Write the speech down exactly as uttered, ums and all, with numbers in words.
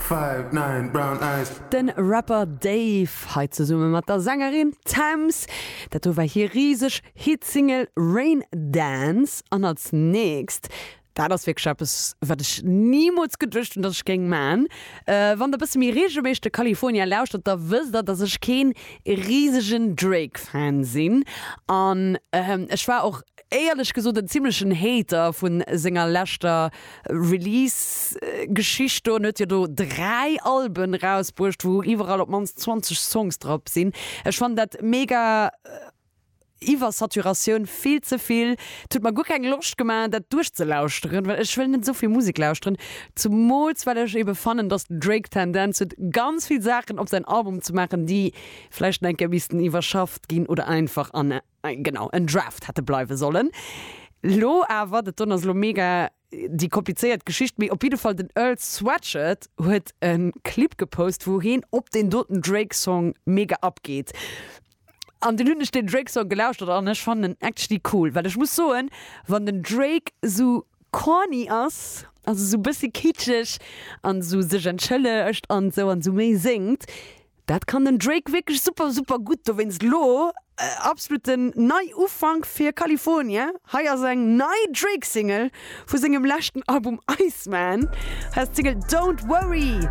Five, nine, brown eyes. Den Rapper Dave hei zesumme mat der Sängerin Tems. Dat do war hir riseg Hitsingle Rain Dance. An als nächst, dat ass wierklech eppes, wat ech nimools geduecht hunn, dass ech géing man. Äh, wann der bësse méi reegelméisseg de California lauschtert, da wësst der, dass ech keen risegen Drake-Fan sinn. An ähm, ech war och éierlech gesot en zimmlechen Hater vun senger leschter Release-Geschicht do. En huet jo do dräi Alben rausbruecht, wou iwwerall op d'mannst zwanzeg Songs drop sinn. Ech fannen dat mega Iwwersaturatioun, vill ze vill. Et huet mer guer keng Loscht gemaach, dat duerchzelauschteren, well ech wëll net esou vill Musek lauschteren. Zumools well ech ebe fannen, dass den Drake d'Tendenz huet, ganz vill Saachen op säin Album ze maachen, déi vläicht nach eng Kéier missten iwwerschafft ginn oder einfach an, genau, en Draft hätte bleiwe sollen. Lo awer, dat don ass lo mega déi komplizéiert Geschicht, mee op jidde Fall den Earl Sweatshirt huet e Clip gepost, wou hien op deen doten Drake-Song mega abgeet. An dunn hunn ech den Drake Song gelauschtert an ech fannen en actually cool, well ech muss soen, wann den Drake sou corny ass, also sou bëssi kitscheg an sou sech entschëllegt an sou an sou méi séngt, dat kann den Drake wierklech super super gutt. Dowéinst lo absoluten Neiufank fir California, hei ass eng nei Drake Single vu sengem leschten Album Iceman, hei ass d'Single Don't Worry.